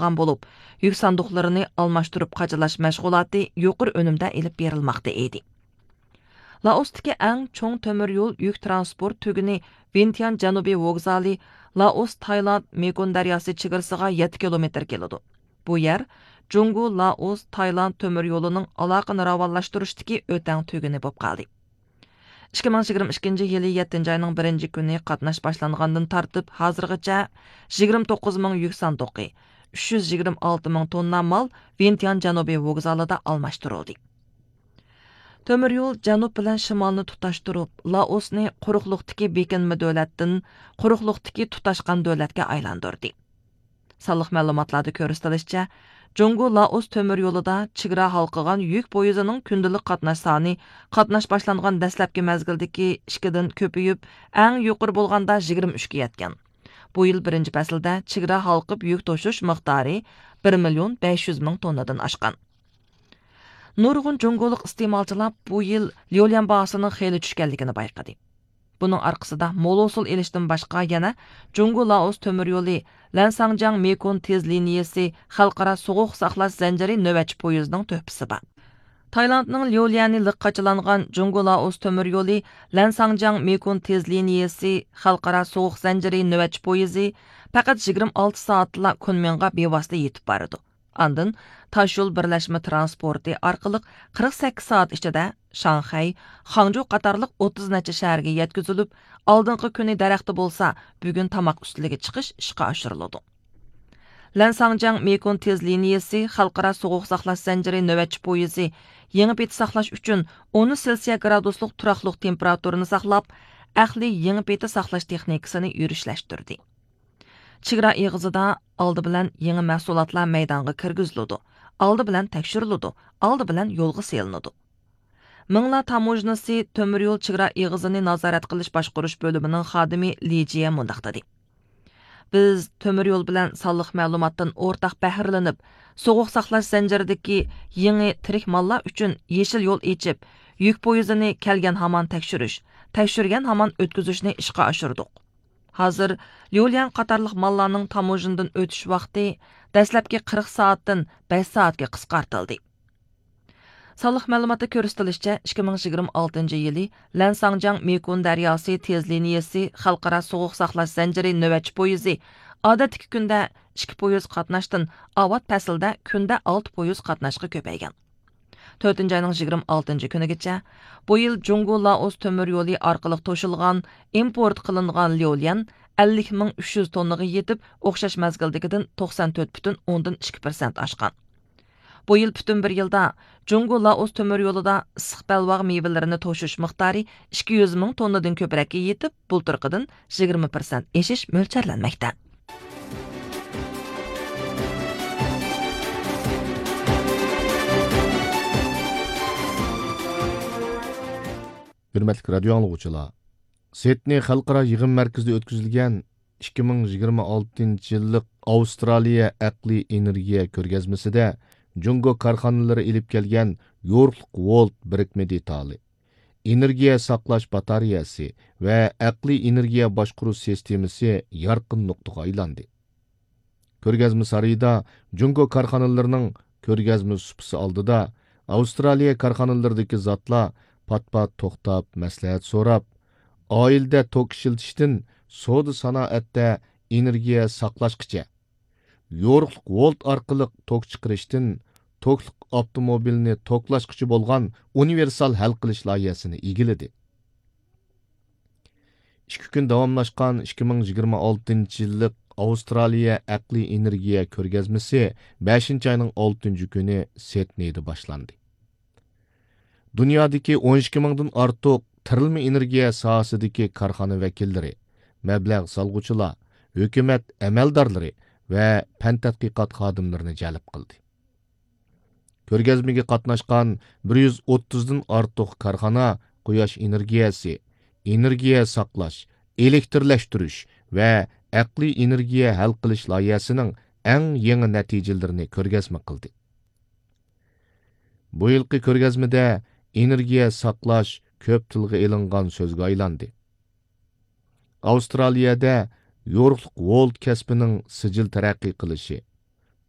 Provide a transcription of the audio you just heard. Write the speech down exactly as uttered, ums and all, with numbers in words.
چىققان بولۇپ، يۈك ساندۇقلىرىنى ئالماشتۇرۇپ قاچىلاش مەشغۇلاتى يۇقىرى ئۈنۈمدە ئېلىپ بېرىلماقتا ئىدى. لائوستىكى ئەڭ چوڭ تۆمۈر يول يۈك تىرانسپورت تۈگۈنى ۋىنتيان جەنۇبىي ۋوگزالى لائوس تايلاند مېكون دەرياسى چېگرىسىغا يەتتە كىلومېتىر كېلىدۇ. بۇ يەر جۇڭگو لائوس تايلاند تۆمۈر يولىنىڭ ئالاقىنى راۋانلاشتۇرۇشتىكى ئۆتەڭ تۈگۈنى بولۇپ قالدى. ئىككى مىڭ يىگىرمە ئىككىنچى يىلى يەتتىنچى ئاينىڭ بىرىنچى كۈنى قاتناش باشلانغاندىن تارتىپ ھازىرغىچە يىگىرمە توققۇز مىڭ يۈك ساندۇقى، ئۈچ يۈز يىگىرمە ئالتە مىڭ توننا مال ۋىنتيان جەنۇبىي ۋوگزالىدا ئالماشتۇرۇلدى. تۆمۈر يول جەنۇب بىلەن شىمالنى تۇتاشتۇرۇپ، لائوسنى قۇرۇقلۇقتىكى بېكىنمە دۆلەتتىن قۇرۇقلۇقتىكى تۇتاشقان دۆلەتكە ئايلاندۇردى. سانلىق مەلۇماتلاردا كۆرسىتىلىشىچە، جۇڭگو لائوس تۆمۈر يولىدا چېگرا ھالقىغان يۈك پويىزىنىڭ كۈندىلىك قاتناش سانى قاتناش باشلانغان دەسلەپكى مەزگىلدىكى ئىككىدىن كۆپىيىپ، ئەڭ يۇقىرى بولغاندا يىگىرمە ئۈچكە يەتكەن. بۇ يىل بىرىنچى پەسىلدە چېگرا ھالقىپ يۈك توشۇش مىقدارى بىر مىليون بەش يۈز مىڭ توننىدىن ئاشقان. نۇرغۇن جۇڭگولۇق ئىستېمالچىلار بۇ يىل ليۇليەن باھاسىنىڭ خېلى چۈشكەنلىكىنى بايقىدى. بۇنىڭ ئارقىسىدا مول ھوسۇل ئېلىشتىن باشقا يەنە جۇڭگو لائوس تۆمۈر يولى لەنساڭجياڭ مېكون تېز لىنىيىسى خەلقئارا سوغۇق ساقلاش زەنجىرى نۆۋەتچى پويىزىنىڭ تۆھپىسى بار. تايلاندنىڭ ليۇليەنى لىق قاچىلانغان جۇڭگو لائوس تۆمۈر يولى لەنساڭجياڭ مېكون تېز لىنىيىسى خەلقئارا سوغۇق زەنجىرى نۆۋەتچى پويىزى پەقەت يىگىرمە ئالتە سائەتلا كۇنمىڭغا بىۋاسىتە يېتىپ بارىدۇ. ئاندىن تاشيول بىرلەشمە تىرانسپورتى ئارقىلىق قىرىق سەككىز سائەت ئىچىدە شاڭخەي، خاڭجۇ قاتارلىق ئوتتۇز نەچچە شەھەرگە يەتكۈزۈلۈپ، ئالدىنقى كۈنى دەرەختە بولسا، بۈگۈن تاماق ئۈستىلىگە چىقىش ئىشقا ئاشۇرۇلىدۇ. لەنساڭجياڭ مېكون تېز لىنىيىسى خەلقئارا سوغۇق ساقلاش زەنجىرى نۆۋەتچى پويىزى يېڭى پېتى ساقلاش ئۈچۈن ئون سېلسىيە گرادۇسلۇق تۇراقلىق تېمپېراتۇرىنى ساقلاپ، ئەقلىي يېڭى پېتى ساقلاش تېخنىكىسىنى يۈرۈشلەشتۈردى. چېگرا ئېغىزىدا ئالدى بىلەن يېڭى مەھسۇلاتلار مەيدانغا كىرگۈزۈلىدۇ، ئالدى بىلەن تەكشۈرۈلىدۇ، ئالدى بىلەن يولغا سېلىنىدۇ. مىڭلا تاموژنىسى تۆمۈر يول چېگرا ئېغىزىنى نازارەت قىلىش باشقۇرۇش بۆلۈمىنىڭ خادىمى لى جيې مۇنداق دېدى: بىز تۆمۈر يول بىلەن سانلىق مەلۇماتتىن ئورتاق بەھرىلىنىپ، سوغۇق ساقلاش زەنجىرىدىكى يېڭى تىرىك ماللار ئۈچۈن يېشىل يول ئېچىپ، يۈك پويىزىنى كەلگەن ھامان تەكشۈرۈش، تەكشۈرگەن ھامان ئۆتكۈزۈشنى ئىشقا ئاشۇردۇق. ھازىر ليۇليەن قاتارلىق ماللارنىڭ تاموژنىدىن ئۆتۈش ۋاقتى دەسلەپكى قىرىق سائەتتىن بەش سائەتكە قىسقارتىلدى. سانلىق مەلۇماتتا كۆرسىتىلىشىچە، ئىككى مىڭ يىگىرمە ئالتىنچى يىلى لەنساڭجياڭ مېكون دەرياسى تېز لىنىيىسى خەلقئارا سوغۇق ساقلاش زەنجىرى نۆۋەتچى پويىزى ئادەتتىكى كۈندە ئىككى پويىز قاتناشتىن ئاۋات پەسىلدە كۈندە ئالتە پويىز قاتناشقا كۆپەيگەن. تۆتىنچى ئاينىڭ يىگىرمە ئالتىنچى كۈنىگىچە بۇ يىل جۇڭگو لائوس تۆمۈر يولى ئارقىلىق توشۇلغان ئىمپورت قىلىنغان ليۇليەن ئەللىك مىڭ ئۈچ يۈز توننىغا يېتىپ، ئوخشاش مەزگىلدىكىدىن توقسان تۆت پۈتۈن ئوندىن ئىككى پىرسەنت ئاشقان. بۇ يىل پۈتۈن بىر يىلدا جۇڭگو لائوس تۆمۈر يولىدا ئىسسىق بەلباغ مېۋىلىرىنى توشۇش مىقدارى ئىككى يۈز مىڭ توننىدىن كۆپرەككە يېتىپ، بۇلتۇرقىدىن يىگىرمە پىرسەنت ئېشىش مۆلچەرلەنمەكتە. ھۆرمەتلىك رادىيو ئاڭلىغۇچىلار، سىدنېي خەلقئارا يىغىن مەركىزىدە ئۆتكۈزۈلگەن ئىككى مىڭ يىگىرمە ئالتىنچى يىللىق ئاۋسترالىيە ئەقلىي ئېنېرگىيە كۆرگەزمىسىدە جۇڭگو كارخانىلىرى ئېلىپ كەلگەن يورۇقلۇق ۋولت بىرىكمە دېتالى، ئېنېرگىيە ساقلاش باتارېيەسى ۋە ئەقلىي ئېنېرگىيە باشقۇرۇش سىستېمىسى يارقىن نۇقتىغا ئايلاندى. كۆرگەزمە سارىيىدا جۇڭگو كارخانىلىرىنىڭ كۆرگەزمە سۇپىسى ئالدىدا ئاۋسترالىيە كارخانىلىرىدىكى زاتلار پات-پات توختاپ مەسلىھەت سوراپ، ئائىلىدە توك ئىشلىتىشتىن سودا سانائەتتە ئېنېرگىيە ساقلاشقىچە، يورۇقلۇق ۋولت ئارقىلىق توك چىقىرىشتىن توكلۇق ئاپتوموبىلنى توكلاشقىچە بولغان ئۇنىۋېرسال ھەل قىلىش لايىھەسىنى ئىگىلىدى. ئىككى كۈن داۋاملاشقان ئىككى مىڭ يىگىرمە ئالتىنچى يىللىق ئاۋسترالىيە ئەقلىي ئېنېرگىيە كۆرگەزمىسى بەشىنچى ئاينىڭ ئالتىنچى كۈنى سىدنېيدا باشلاندى. دۇنيادىكى ئون ئىككى مىڭدىن ئارتۇق تىرىلما ئېنېرگىيە ساھەسىدىكى كارخانا ۋەكىللىرى، مەبلەغ سالغۇچىلار، ھۆكۈمەت ئەمەلدارلىرى ۋە پەن تەتقىقات خادىملىرىنى جەلپ قىلدى. كۆرگەزمىگە قاتناشقان بىر يۈز ئوتتۇزدىن ئارتۇق كارخانا قۇياش ئېنېرگىيەسى، ئېنېرگىيە ساقلاش، ئېلېكترلەشتۈرۈش ۋە ئەقلىي ئېنېرگىيە ھەل قىلىش لايىھەسىنىڭ ئەڭ يېڭى نەتىجىلىرىنى كۆرگەزمە قىلدى. بۇ يىلقى كۆرگەزمىدە ئېنېرگىيە ساقلاش كۆپ تىلغا ئېلىنغان سۆزگە ئايلاندى. ئاۋسترالىيەدە يورۇقلۇق ۋولت كەسپىنىڭ سىجىل تەرەققىي قىلىشى،